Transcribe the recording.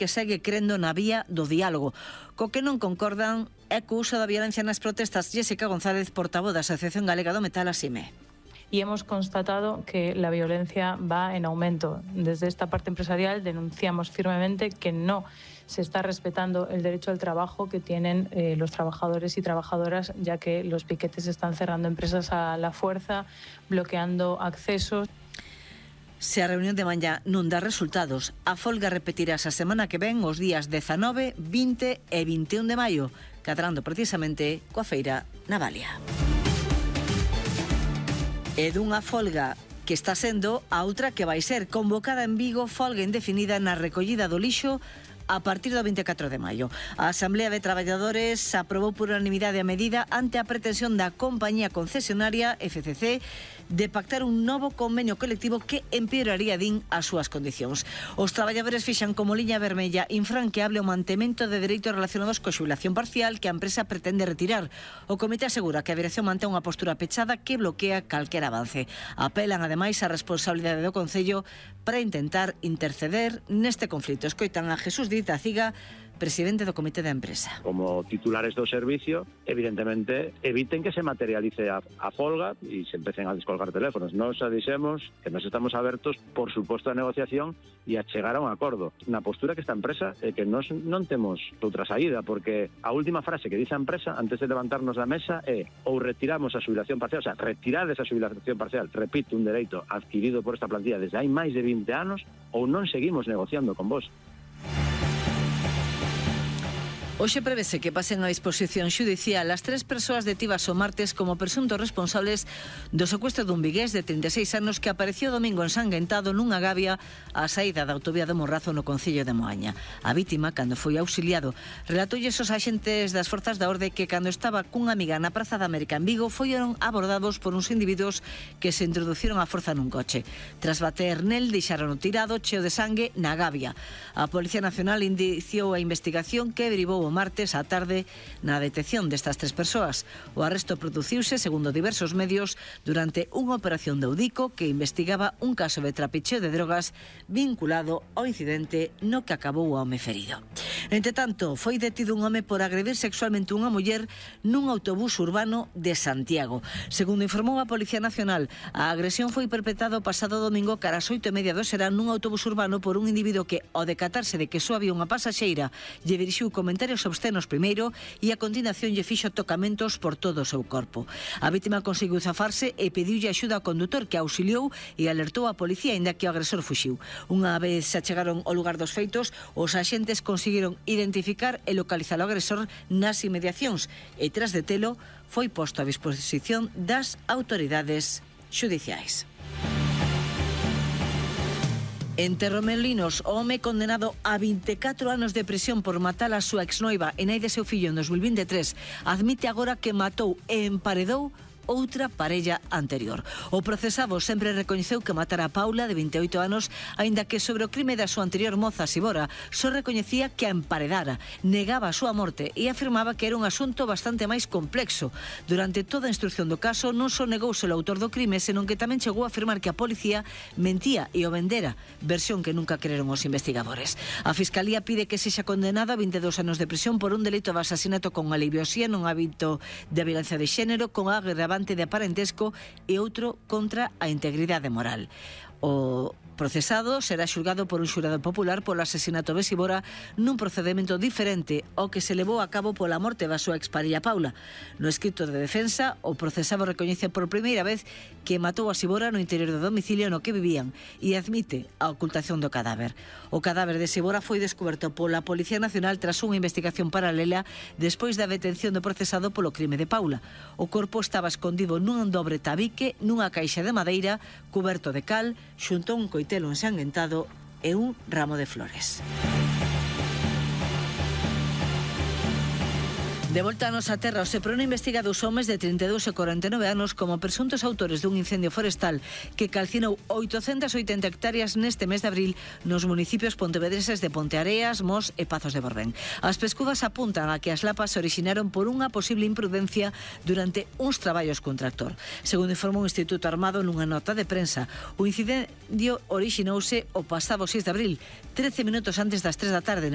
que segue crendo na vía do diálogo. Co que non concordan é co uso da violencia nas protestas. Jessica González, portavoz da Asociación Galega do Metal, asime. Y hemos constatado que la violencia va en aumento. Desde esta parte empresarial denunciamos firmemente que no se está respetando el derecho al trabajo que tienen los trabajadores y trabajadoras, ya que los piquetes están cerrando empresas a la fuerza, bloqueando accesos. Se a reunión de mañá non dá resultados, a folga repetirás a semana que ven os días 19, 20 e 21 de maio, cadrando precisamente coa feira na Valia. E dunha folga que está sendo a outra que vai ser convocada en Vigo, folga indefinida na recollida do lixo a partir do 24 de maio. A Asamblea de Traballadores aprobou por unanimidade a medida ante a pretensión da compañía concesionaria FCC de pactar un novo convenio colectivo que empeoraría, din, as súas condicións. Os traballadores fixan como liña vermella infranqueable o mantemento de dereitos relacionados coa xubilación parcial que a empresa pretende retirar. O comité asegura que a dirección mantén unha postura pechada que bloquea calquer avance. Apelan, ademais, á responsabilidade do Concello para intentar interceder neste conflito. Escoitan a Jesús Díaz Aciga, presidente do Comité da Empresa. Como titulares do servicio, evidentemente, eviten que se materialice a folga e se empecen a descolgar teléfonos. Nos dixemos que nos estamos abertos, por suposto, a negociación e a chegar a un acordo. Na postura que esta empresa é que nos non temos outra saída, porque a última frase que dice a empresa antes de levantarnos da mesa é ou retiramos a xubilación parcial, o sea, retirades a xubilación parcial, repito, un dereito adquirido por esta plantilla desde hai máis de 20 anos, ou non seguimos negociando con vos. Hoxe prevese que pasen a disposición xudicial as 3 persoas detidas o martes como presuntos responsables do secuestro dun vigués de 36 anos que apareceu domingo ensanguentado nunha gavia á saída da autovía do Morrazo no concello de Moaña. A vítima, cando foi auxiliado, relatolles os axentes das forzas da orde que cando estaba cunha amiga na Praza da América en Vigo foron abordados por uns individuos que se introduciron á forza nun coche. Tras bater nel, deixaron o tirado cheo de sangue na gavia. A Policía Nacional indiciou a investigación que derivou o martes á tarde na detección destas 3 persoas. O arresto produciuse, segundo diversos medios, durante unha operación de Audico que investigaba un caso de trapicheo de drogas vinculado ao incidente no que acabou o home ferido. Entre tanto, foi detido un home por agredir sexualmente unha muller nun autobús urbano de Santiago. Segundo informou a Policía Nacional, a agresión foi perpetrada o pasado domingo cara ás 8:30 do serán nun autobús urbano por un individuo que, ao decatarse de que só había unha pasaxeira, lle dirixiu comentarios obscenos primeiro e a continuación lle fixo tocamentos por todo o seu corpo. A vítima conseguiu zafarse e pediulle axuda ao condutor que auxiliou e alertou a policía aínda que o agresor fuxiu. Unha vez se achegaron ao lugar dos feitos, os axentes conseguiron identificar e localizar o agresor nas inmediacións e tras detelo foi posto a disposición das autoridades xudiciais. En Torremolinos, o home condenado a 24 anos de prisión por matar a súa exnoiva e nai de seu fillo en 2023 admite agora que matou e emparedou outra parella anterior. O procesado sempre recoñeceu que matara a Paula, de 28 anos, aínda que sobre o crime da súa anterior moza, Sibora, só recoñecía que a emparedara, negaba a súa morte e afirmaba que era un asunto bastante máis complexo. Durante toda a instrucción do caso, non só negouse o autor do crime, senón que tamén chegou a afirmar que a policía mentía e o vendera, versión que nunca creron os investigadores. A Fiscalía pide que sexa condenado a 22 anos de prisión por un delito de asasinato con alevosía nun hábito de violencia de xénero con agravante de parentesco e outro contra a integridade moral. O procesado será xulgado por un xurado popular polo asesinato de Sibora nun procedimento diferente ao que se levou a cabo pola morte da súa exparella Paula. No escrito de defensa, o procesado recoñece por primeira vez que matou a Sibora no interior do domicilio no que vivían e admite a ocultación do cadáver. O cadáver de Sibora foi descoberto pola Policía Nacional tras unha investigación paralela despois da detención do procesado polo crime de Paula. O corpo estaba escondido nun dobre tabique nunha caixa de madeira cuberto de cal xunto a un coitelo ensanguentado e un ramo de flores. De volta a nosa terra, o Seprona investiga dous homes de 32 e 49 anos como presuntos autores dun incendio forestal que calcinou 880 hectáreas neste mes de abril nos municipios pontevedreses de Ponteareas, Mos e Pazos de Borbén. As pescudas apuntan a que as lapas se orixinaron por unha posible imprudencia durante uns traballos cun tractor. Segundo informou o Instituto Armado nunha nota de prensa, o incendio orixinouse o pasado 6 de abril, 13 minutos antes das 3 da tarde,